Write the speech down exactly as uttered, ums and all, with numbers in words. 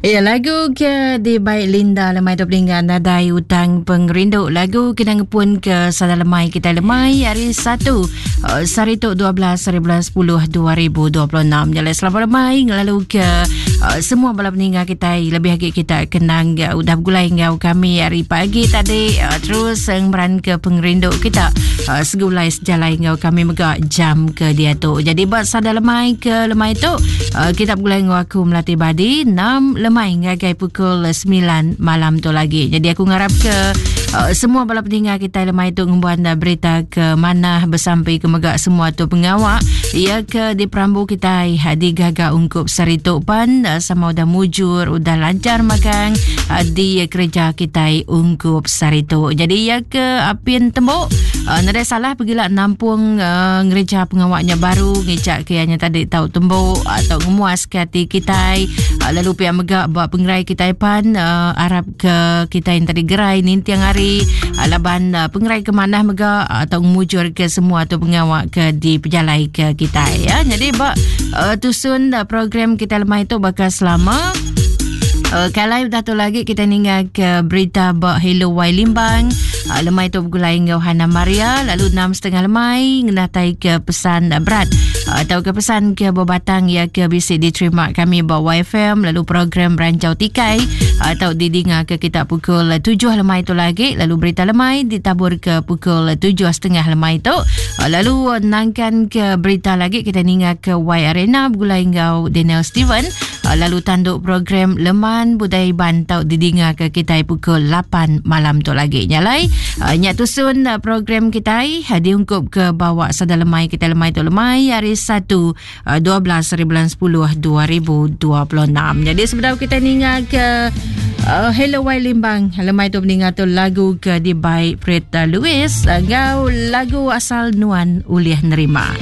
Ya, lagu ke di baik Linda lemai tu peninggal nadai utang pengerindu. Lagu kena ngepun ke sada lemai kita lemai hari satu uh, sehari tu dua belas hari bulan sepuluh dua ribu dua puluh enam. Jalai selamat lemai ngelalu ke uh, semua bala peninggal kita lebih lagi kita kenang uh, udah bergulai ngau kami hari pagi tadi uh, terus ngmeran ke pengerindu kita uh, segulai sejalai ngau kami mega jam ke dia tu. Jadi buat sada lemai ke lemai tu uh, kita bergulai ngau aku Melati Badi enam lemai ngagai pukul sembilan malam tu lagi. Jadi aku ngarap ke uh, semua bala pendengar kita lemai tu ngembuan berita ke mana bersampai ke megak semua tu pengawak ia ke di perambu kita di gaga ungkup saritu pan uh, sama udah mujur udah lancar makan uh, di kerja kita ungkup saritu. Jadi ia ke apin tembok uh, nadai salah pergilah nampung uh, ngereja pengawaknya baru ngecak ke ianya tadi tau tembok atau ngemuas ke hati kita uh, lalu pihak megak buat pengerai kita pan uh, arab ke kita yang tadi gerai nintiang hari uh, laban uh, pengerai ke mana mega atau mujur ke semua tu pengawak ke di pejalai ke kita ya. Jadi bak uh, tusun uh, program kita lemai tu bakal selama Uh, kalau dah tu lagi kita ninggal ke berita bak Hello Wai Limbang. Uh, lemai tu bergulai dengan Hana Maria lalu enam setengah lemai ngenatai ke pesan uh, berat uh, atau ke pesan ke berbatang ya ke bisik diterima kami bak Y F M lalu program Rancau Tikai atau uh, didengar ke kita pukul tujuh lemai tu lagi lalu berita lemai ditabur ke pukul tujuh setengah lemai tu uh, lalu uh, nangkan ke berita lagi kita ninggal ke Y Arena bergulai dengan Daniel Steven uh, lalu tanduk program lemai budaya Iban tau didengar ke kita pukul lapan malam tu lagi. Nyalai uh, nyak tusun uh, program kita uh, diungkup ke bawa sada lemai kita lemai tu lemai hari satu uh, dua belas hari bulan sepuluh dua ribu dua puluh enam. Jadi sebenarnya kita ningal ke uh, Hello Wai Limbang lemai tu mendengar tu lagu ke di baik Preta Lewis uh, ngau lagu asal Nuan Ulih Nerima.